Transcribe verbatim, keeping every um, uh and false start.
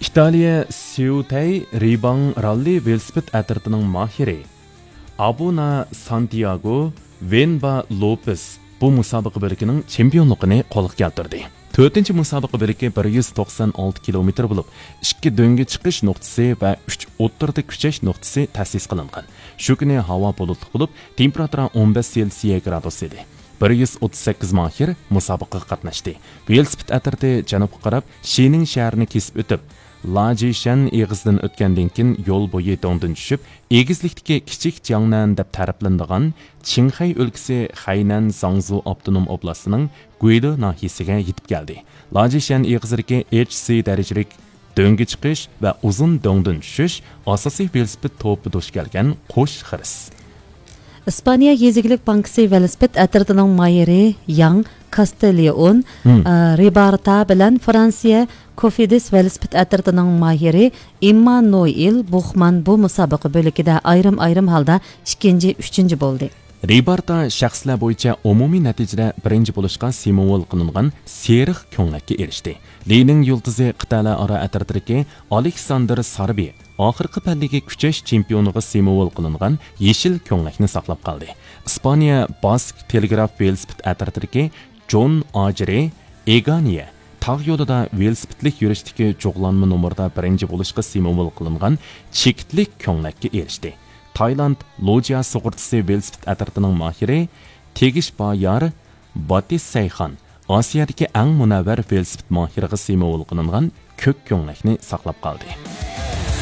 ئىتالىيە سيۇتەي رىباڭ راللى ۋېلىسىپىت ئەترىتىنىڭ ماھىرى ئابۇنا سانتىياگو ۋېنبا لوپېس بۇ مۇسابىقە بۆلىكىنىڭ چېمپىيونلۇقىنى قولغا كەلتۈردى. تۆتىنچى مۇسابىقە بۆلىكى بىر يۈز توقسان ئالتە كىلومېتىر بولۇپ، ئىككى دۆڭگە چىقىش نۇقتىسى ۋە ئۈچ ئوتتۇرىدا كۈچەش نۇقتىسى تەسىس قىلىنغان. شۇ كۈنى ھاۋا بۇلۇتلۇق بولۇپ، تېمپېراتۇرا ئون بەش سېلسىيە گرادۇس ئىدى. بىر يۈز ئوتتۇز سەككىز ماھىر مۇسابىقىگە قاتناشتى. ۋېلىسىپىت ئەترىتى جەنۇبقا قاراپ شىنىڭ شەھىرىنى كېسىپ ئۆتۈپ، لاجىشەن ئېغىزىدىن ئۆتكەندىن كېيىن يول بويى دۆڭدىن چۈشۈپ، ئېگىزلىكتىكى كىچىك جياڭنەن دەپ تەرىپلىنىدىغان چىڭخەي ئۆلكىسى خەينەن زاڭزۇ ئاپتونوم ئوبلاستىنىڭ گۇيلې ناھىيەسىگە يېتىپ كەلدى. لاجىشەن ئېغىزىدىكى ئېچ سى دەرىجىلىك دۆڭگە چىقىش ۋە ئۇزۇن دۆڭدىن چۈشۈش ئاساسىي ۋېلىسىپىت توپى دۇچ كەلگەن قوش خىرىس. ئىسپانىيە يېزا ئىگىلىك بانكىسى ۋېلىسىپىت ئەترىتىنىڭ ماھىرى ياڭ كاستىليون، ھىم. ئە، رىبارتا بىلەن فرانسىيە كوفىدىس ۋېلىسىپىت ئەترىتىنىڭ ماھىرى ئىممانۇئىل بۇخمان بۇ مۇسابىقە بۆلىكىدە ئايرىم-ئايرىم ھالدا ئىككىنچى، ئۈچىنچى بولدى. رىبارتا شەخسلەر بويىچە ئومۇمىي نەتىجىدە بىرىنچى بولۇشقا سېموۋول قىلىنغان سېرىق كۆڭلەككە ئېرىشتى. لىنىڭ يۇلتۇزى قىتئەلەر ئارا ئەترىتىدىكى ئالېكساندىر ساربى ئاخىرقى پەللىگە كۈچەش چېمپىيونىغا سېموۋول قىلىنغان يېشىل كۆڭلەكنى ساقلاپ قالدى. ئىسپانىيە باسك تېلېگراف ۋېلىسىپىت ئەترىتىدىكى جون ئاجرى ئېگانىيە تاغ يولىدا ۋېلىسىپىتلىك يۈرۈشتىكى جۇغلانما نومۇردا بىرىنچى بولۇشقا سېموۋول قىلىنغان چېكىتلىك كۆڭلەككە ئېرىشتى. تايلاند لوجيا سۇغۇرتىسى ۋېلىسىپىت ئەترىتىنىڭ ماھىرى تېگىش بايار باتىس سەيخان ئاسىيادىكى ئەڭ مۇنەۋۋەر ۋېلىسىپىت ماھىرىغا سېموۋول قىلىنغان كۆك كۆڭلەكنى ساقلاپ قالدى.